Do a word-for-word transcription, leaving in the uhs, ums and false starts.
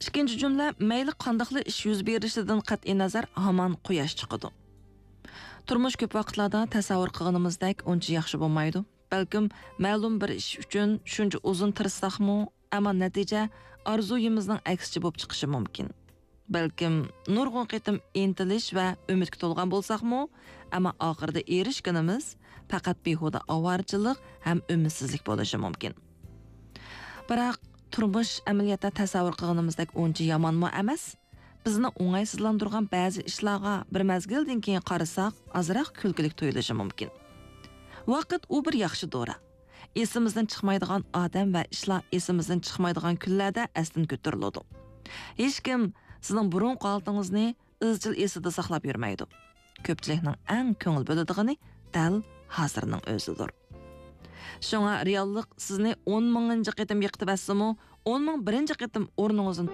ئىككىنچى جۈملە، مەيلى قانداقلا ئىش يۈز بېرىشىدىن قەتئىينەزەر، ھامان قۇياش چىقىدۇ. تۇرمۇش كۆپ ۋاقىتلاردا تەسەۋۋۇر قىلغىنىمىزدەك ئۇنچە ياخشى بولمايدۇ. بەلكىم مەلۇم بىر ئىش ئۈچۈن شۇنچە ئۇزۇن تىرىشساقمۇ، ئەمما نەتىجە ئارزۇيىمىزنىڭ ئەكسىچە بولۇپ چىقىشى مۇمكىن. بەلكىم نۇرغۇن قېتىم ئىنتىلىش ۋە ئۈمىدكە تولغان بولساقمۇ، ئەمما ئاخىرىدا ئېرىشكىنىمىز پەقەت بىھۇدە ئاۋارىچىلىق ھەم ئۈمىدسىزلىك بولۇشى مۇمكىن. بىراق، تۇرمۇش ئەمەلىيەتتە تەسەۋۋۇر قىلغىنىمىزدەك ئۇنچە يامانمۇ ئەمەس. بىزنى ئوڭايسىزلاندۇرغان بەزى ئىشلارغا بىر مەزگىلدىن كېيىن قارىساق، ئازراق كۈلكىلىك تۇيۇلۇشى مۇمكىن. ۋاقىت ئۇ بىر ياخشى دورا. ئېسىمىزدىن چىقمايدىغان ئادەم ۋە ئىشلار ئېسىمىزدىن چىقمايدىغان كۈنلەردە ئەستىن كۆتۈرۈلىدۇ. ھېچكىم سىزنىڭ بۇرۇنقى ھالىتىڭىزنى ئىزچىل ئېسىدە ساقلاپ يۈرمەيدۇ. كۆپچىلىكنىڭ ئەڭ كۆڭۈل بۆلىدىغىنى دەل ھازىرنىڭ ئۆزىدۇر. شۇڭا رېئاللىق سىزنى ئون مىڭىنچى قېتىم يىقىتىۋەتسىمۇ، ئون مىڭ بىرىنچى قېتىم ئورنىڭىزدىن